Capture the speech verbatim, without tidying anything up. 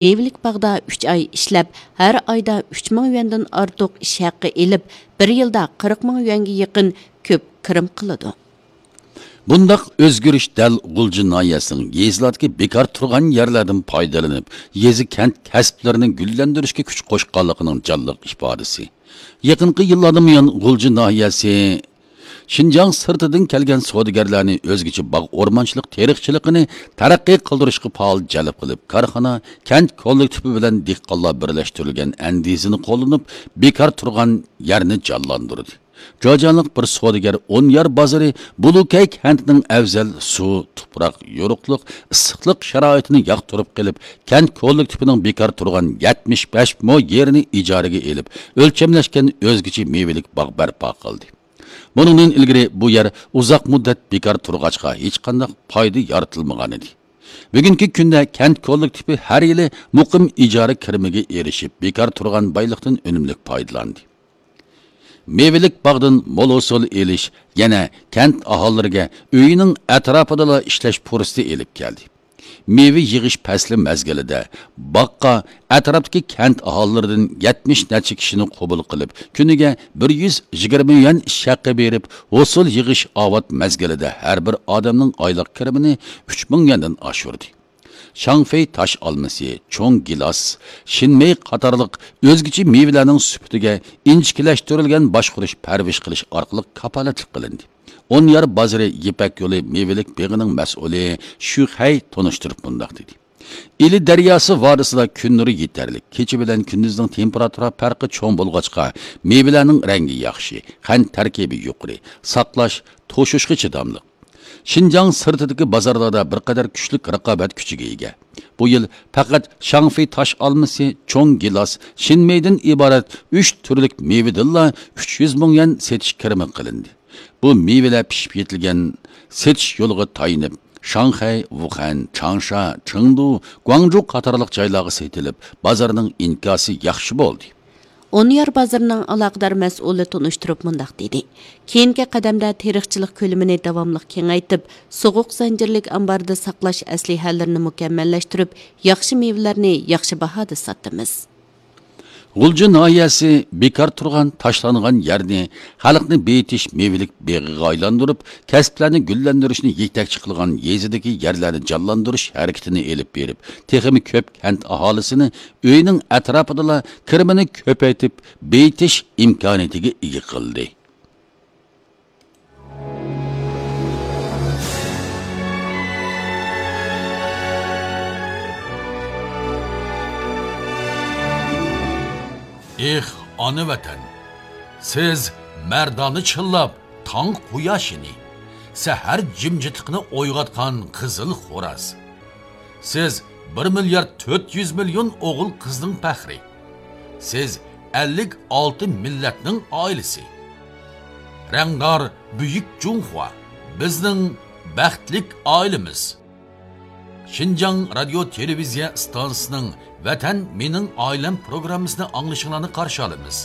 مېۋىلىك باغدا ئۈچ ئاي ئىشلەپ، ھەر ئايدا ئۈچ مىڭ يۈەندىن ئارتۇق ئىش ھەققى ئېلىپ، بىر يىلدا قىرىق مىڭ يۈەنگە يېقىن كۆپ كىرىم قىلىدۇ. بۇنداق ئۆزگىرىش دەل غۇلجا ناھىيەسىنىڭ يېزىلاردىكى بىكار تۇرغان يەرلەردىن پايدىلىنىپ، يېزا، كەنت كەسىپلىرىنى گۈللەندۈرۈشكە كۈچ قوشقانلىقىنىڭ جانلىق ئىپادىسى. يېقىنقى يىللاردىن بۇيان غۇلجا ناھىيەسى شىنجاڭ سىرتىدىن كەلگەن سودىگەرلەرنى ئۆزگىچە باغ ئورمانچىلىق تېرىقچىلىقىنى تەرەققىي قىلدۇرۇشقا پائال جەلپ قىلىپ، كارخانا، كەنت كوللېكتىپى بىلەن دېھقانلار بىرلەشتۈرۈلگەن ئەندىزىنى قوللىنىپ، بىكار تۇرغان يەرنى جانلاندۇردى. جاجانلىق بىر سودىگەر ئونيار بازىرى بۇلۇكەي كەنتىنىڭ ئەۋزەل سۇ، تۇپراق، يورۇقلۇق، ئىسسىقلىق شارائىتىنى ياقتۇرۇپ قېلىپ، كەنت كوللېكتىپىنىڭ بىكار تۇرغان يەتمىش بەش مو يېرىنى ئىجارىگە ئېلىپ، ئۆلچەملەشكەن ئۆزگىچە مېۋىلىك باغ بەرپا قىلدى. بۇنىڭدىن ئىلگىرى بۇ يەر ئۇزاق مۇددەت بىكار تۇرغاچقا، ھېچقانداق پايدا يارىتىلمىغانىدى. بۈگۈنكى كۈندە كەنت كوللېكتىپى ھەر يىلى مۇقىم ئىجارە كىرىمىگە ئېرىشىپ، بىكار تۇرغان بايلىقتىن ئۈنۈملۈك پايدىلاندى. مېۋىلىك باغدىن مول ھوسۇل ئېلىش يەنە كەنت ئاھالىلىرىگە ئۆيىنىڭ ئەتراپىدىلا ئىشلەش پۇرسىتى ئېلىپ كەلدى. مېۋە يىغىش پەسلى مەزگىلىدە باغقا ئەتراپتىكى كەنت ئاھالىلىرىدىن يەتمىش نەچچە كىشىنى قوبۇل قىلىپ، كۈنىگە بىر يۈز يىگىرمە يۈەن ئىش ھەققى بېرىپ، ھوسۇل يىغىش ئاۋات مەزگىلىدە ھەر بىر ئادەمنىڭ ئايلىق كىرىمىنى ئۈچ مىڭ يۈەندىن ئاشۇردى. شاڭفېي تاش ئالمىسى، چوڭ گىلاس، شىنمېي قاتارلىق ئۆزگىچە مېۋىلەرنىڭ سۈپىتىگە ئىنچىكىلەشتۈرۈلگەن باشقۇرۇش، پەرۋىش قىلىش ئارقىلىق كاپالەتلىك قىلىندى. ئونيار بازىرى يىپەك يولى مېۋىلىك بېغىنىڭ مەسئۇلى شۈخەي تونۇشتۇرۇپ مۇنداق دېدى: ئىلى دەرياسى ۋادىسىدا كۈن نۇرى يېتەرلىك، كېچە بىلەن كۈندۈزنىڭ تېمپېراتۇرا پەرقى چوڭ بولغاچقا، مېۋىلەرنىڭ رەڭگى ياخشى، قەنت تەركىبى يۇقىرى، ساقلاش، توشۇشقا چىداملىق. شىنجاڭ سىرتىدىكى بازارلاردا بىر قەدەر كۈچلۈك رىقابەت كۈچىگە ئىگە. بۇ يىل پەقەت شاڭفېي تاش ئالمىسى، چوڭ گىلاس، شىنمېيدىن ئىبارەت ئۈچ تۈرلۈك مېۋىدىنلا ئۈچ يۈز مىڭ يۈەن سېتىش كىرىمى قىلىندى. بۇ مېۋىلەر پىشىپ يېتىلگەن، سېتىش يولىغا تايىنىپ، شاڭخەي، ۋۇخەن، چاڭشا، چېڭدۇ، گۇاڭجۇ قاتارلىق جايلارغا سېتىلىپ، بازارنىڭ ئىنكاسى ياخشى بولدى. ئونيار بازىرىنىڭ ئالاقىدار مەسئۇلى تونۇشتۇرۇپ مۇنداق دېدى: كېيىنكى قەدەمدە تېرىقچىلىق كۆلىمىنى داۋاملىق كېڭەيتىپ، سوغۇق زەنجىرلىك ئامباردا ساقلاش ئەسلىھەلىرىنى مۇكەممەللەشتۈرۈپ، ياخشى مېۋىلەرنى ياخشى باھادا ساتىمىز. غۇلجا ناھىيەسى بىكار تۇرغان، تاشلانغان يەرنى خەلقنى بېيىتىش مېۋىلىك بېغىغا ئايلاندۇرۇپ، كەسىپلەرنى گۈللەندۈرۈشنى يېتەكچى قىلغان يېزىدىكى يەرلەرنى جانلاندۇرۇش ھەرىكىتىنى ئېلىپ بېرىپ، تېخىمۇ كۆپ كەنت ئاھالىسىنى ئۆيىنىڭ ئەتراپىدىلا كىرىمىنى كۆپەيتىپ، بېيىتىش ئىمكانىيىتىگە ئىگە قىلدى. ئېھ، ئانا ۋەتەن! سىز مەردانە چىللاپ تاڭ قۇياشىنى، سەھەر جىمجىتلىقىنى ئويغاتقان قىزىل خوراز. سىز بىر مىليارد تۆت يۈز مىليون ئوغۇل قىزنىڭ پەخرى. سىز ئەللىك ئالتە مىللەتنىڭ ئائىلىسى. رەڭدار بۈيۈك جۇڭخۇا، بىزنىڭ بەختلىك ئائىلىمىز. شىنجاڭ رادىيو تېلېۋىزىيە ئىستانسىسىنىڭ ۋەتەن مېنىڭ ئائىلەم پروگراممىسىنى ئاڭلىشىڭلارنى قارشى ئالىمىز.